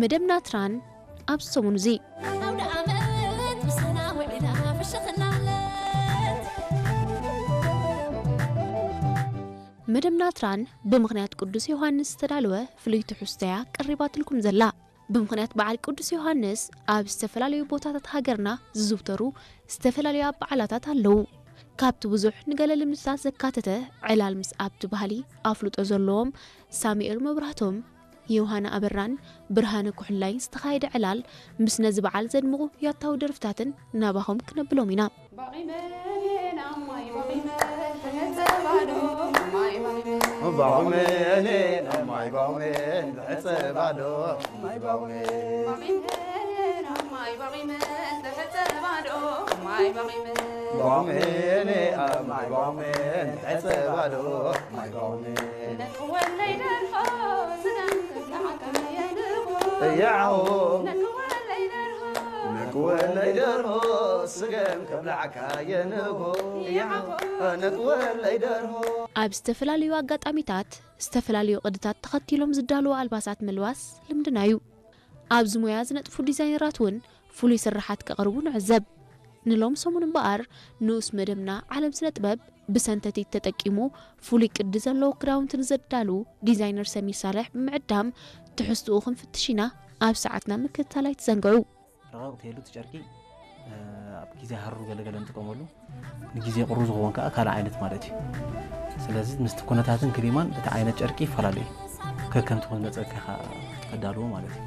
መደብ ናትራን ኣብ ሰሙን እዚ። መደብ ናትራን ብምኽንያት ቅዱስ ዮሃንስ ዝተዳለወ ፍሉይ ትሕዝቶያ ቀሪባትልኩም ዘላ። ብምኽንያት በዓል ቅዱስ ዮሃንስ ኣብ ዝተፈላለዩ ቦታታት ሃገርና ዝዝውተሩ ዝተፈላለዩ በዓላታት ኣለዉ። ካብቲ ብዙሕ ንገለ ልምድታት ዘካተተ ዕላል ምስ ኣብቲ ባህሊ ኣፍልጦ ዘለዎም ሳሙኤል መብራህቶም፣ ዮሃና ኣበራን ብርሃነ ኩሕላይን ዝተኻየደ ዕላል ምስ ነዚ በዓል ዘድምቑ ያታዊ ደርፍታትን ናባኹም ክነብሎም ኢና። ያሆ ነክወለይ ደርሆ ስገም ከብላዕካ የንሆ ያሆ ነክወለይ ደርሆ ኣብ ዝተፈላለዩ ኣጋጣሚታት ዝተፈላለዩ ቅድታት ተኸቲሎም ዝዳለዉ ኣልባሳት ምልባስ ልምድና እዩ። ኣብዚ ሞያ ዝነጥፉ ዲዛይነራት እውን ፍሉይ ስርሓት ከቕርቡ ንዕዘብ። ንሎም ሰሙን እምበኣር ንኡስ መደብና ዓለም ስነ ጥበብ ብሰንተቲት ተጠቂሙ ፍሉይ ቅዲ ዘለዎ ክዳውንቲ ንዘዳሉ ዲዛይነር ሰሚር ሳልሕ ብምዕዳም ትሕዝትኡ ክንፍትሽ ኢና። ኣብ ሰዓትና ምክትታል ኣይትዘንግዑ። ረቐቕ ተይሉ እቲ ጨርቂ ኣብ ግዜ ሃሩር ገለገለ ንጥቀመሉ፣ ንግዜ ቁሩ ዝኸውን ከዓ ካልእ ዓይነት ማለት እዩ። ስለዚ ምስቲ ኩነታትን ክሊማን እቲ ዓይነት ጨርቂ ይፈላለዩ። ከከምቲ ዝመፀካ ኢኻ ተዳልዎ ማለት እዩ።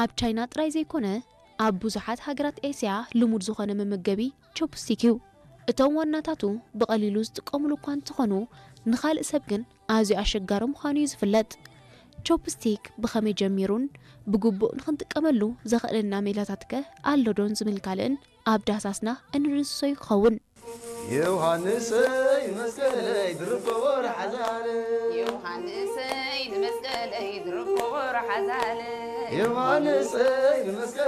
ኣብ ቻይና ጥራይ ዘይኮነ ኣብ ብዙሓት ሃገራት ኤስያ ልሙድ ዝኾነ መመገቢ ቾፕስቲክ እዩ። እቶም ዋናታቱ ብቐሊሉ ዝጥቀሙሉ እኳ እንተኾኑ ንኻልእ ሰብ ግን ኣዝዩ ኣሸጋሪ ምዃኑ እዩ ዝፍለጥ። ቾፕስቲክ ብኸመይ ጀሚሩን ብግቡእ ንኽንጥቀመሉ ዘኽእለና ሜላታትከ ኣሎ ዶን ዝብል ካልእን ኣብ ዳህሳስና እንድንስሶ ይኸውን። ዮሃንሰይ መስቀለይ ድርብ ኮቦር ሓዛለ ዮሃንሰይ ንመስቀለይ ድርብ ኮቦር ሓዛለ ዮሃንሰይ ንመስቀለይ